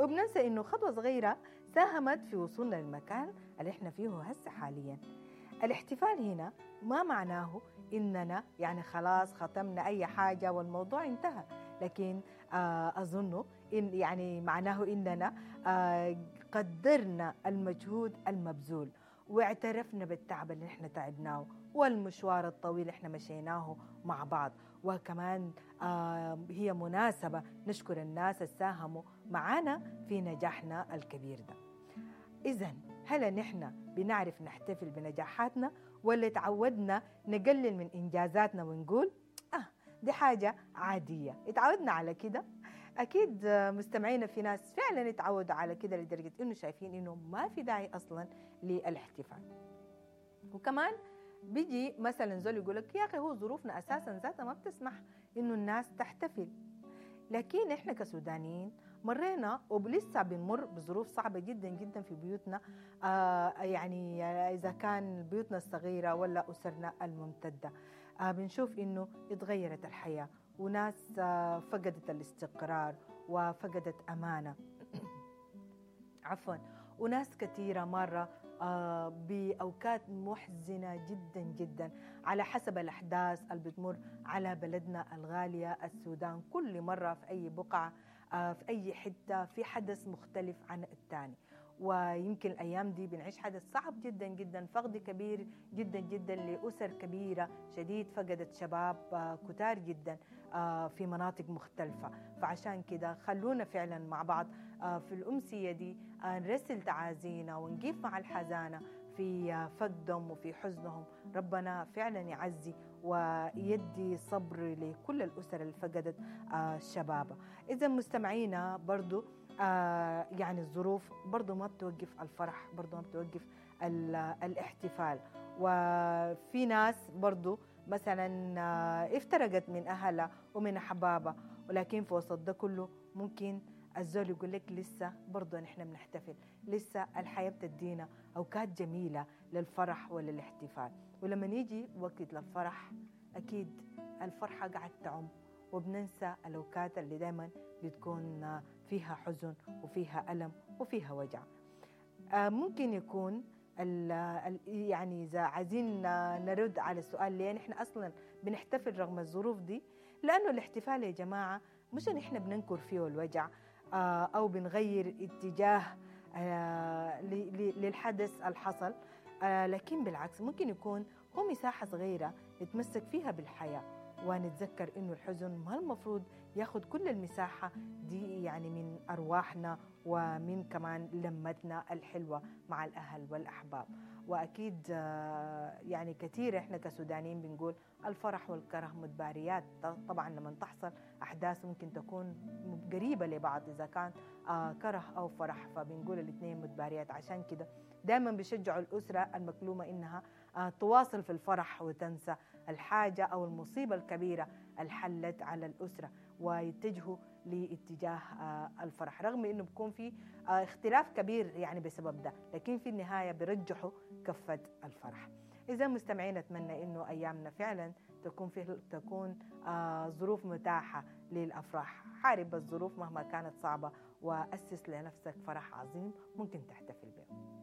وبننسى إنه خطوة صغيرة ساهمت في وصولنا للمكان اللي احنا فيه هسه حاليا. الاحتفال هنا ما معناه إننا يعني خلاص ختمنا أي حاجة والموضوع انتهى، لكن أظن إن يعني معناه إننا قدرنا المجهود المبذول واعترفنا بالتعب اللي احنا تعبناه والمشوار الطويل اللي احنا مشيناه مع بعض. وكمان هي مناسبة نشكر الناس اللي ساهموا معانا في نجاحنا الكبير ده. إذن هل نحن بنعرف نحتفل بنجاحاتنا ولا تعودنا نقلل من إنجازاتنا ونقول دي حاجة عادية، اتعودنا على كده؟ أكيد مستمعينا في ناس فعلا اتعودوا على كده لدرجة إنه شايفين إنه ما في داعي أصلا للاحتفال. وكمان بيجي مثلا زول يقولك يا أخي هو ظروفنا أساسا ذاتها ما بتسمح إنه الناس تحتفل، لكن إحنا كسودانيين مرينا ولسه بنمر بظروف صعبة جدا جدا في بيوتنا، يعني إذا كان بيوتنا الصغيرة ولا أسرنا الممتدة، بنشوف إنه اتغيرت الحياة وناس فقدت الاستقرار وفقدت أمانة عفوا، وناس كثيرة مرة بأوقات محزنة جدا جدا على حسب الأحداث اللي بتمر على بلدنا الغالية السودان. كل مرة في أي بقعة في أي حتة في حدث مختلف عن الثاني، ويمكن الأيام دي بنعيش حدث صعب جدا جدا، فقد كبير جدا جدا لأسر كبيرة شديد فقدت شباب كتار جدا في مناطق مختلفة. فعشان كده خلونا فعلا مع بعض في الأمسية دي نرسل تعازينا ونقيف مع الحزانة في فقدهم وفي حزنهم. ربنا فعلا يعزي ويدي صبر لكل الأسر اللي فقدت شبابها. إذا مستمعينا برضو يعني الظروف برضو ما بتوقف الفرح، برضو ما بتوقف الاحتفال. وفي ناس برضو مثلا افترقت من أهلها ومن أحبابها، ولكن في وسط ده كله ممكن الزول يقول لك لسه برضو نحن بنحتفل، لسه الحياة بتدينا أوقات جميلة للفرح وللاحتفال. ولما يجي وقت للفرح أكيد الفرحة قاعد تعم، وبننسى الأوقات اللي دايما بتكون فيها حزن وفيها ألم وفيها وجع. ممكن يكون يعني إذا عايزين نرد على السؤال ليه نحن أصلا بنحتفل رغم الظروف دي، لأنه الاحتفال يا جماعة مش نحن بننكر فيه الوجع أو بنغير اتجاه للحدث الحصل، لكن بالعكس ممكن يكون هو مساحة صغيرة نتمسك فيها بالحياة ونتذكر إنه الحزن ما المفروض ياخد كل المساحة دي يعني من أرواحنا ومن كمان لمتنا الحلوة مع الأهل والأحباب. وأكيد يعني كثير إحنا كسودانيين بنقول الفرح والكره متباريات. طبعا لما تحصل أحداث ممكن تكون قريبة لبعض إذا كان كره أو فرح، فبنقول الاثنين متباريات. عشان كده دائما بيشجعوا الأسرة المكلومة إنها تواصل في الفرح وتنسى الحاجة أو المصيبة الكبيرة اللي حلت على الأسرة، ويتجهوا لاتجاه الفرح رغم إنه بيكون في اختلاف كبير يعني بسبب ده، لكن في النهاية بيرجحوا كفة الفرح. إذا مستمعين أتمنى إنه أيامنا فعلا تكون ظروف متاحة للأفراح. حارب الظروف مهما كانت صعبة وأسس لنفسك فرح عظيم ممكن تحتفل به.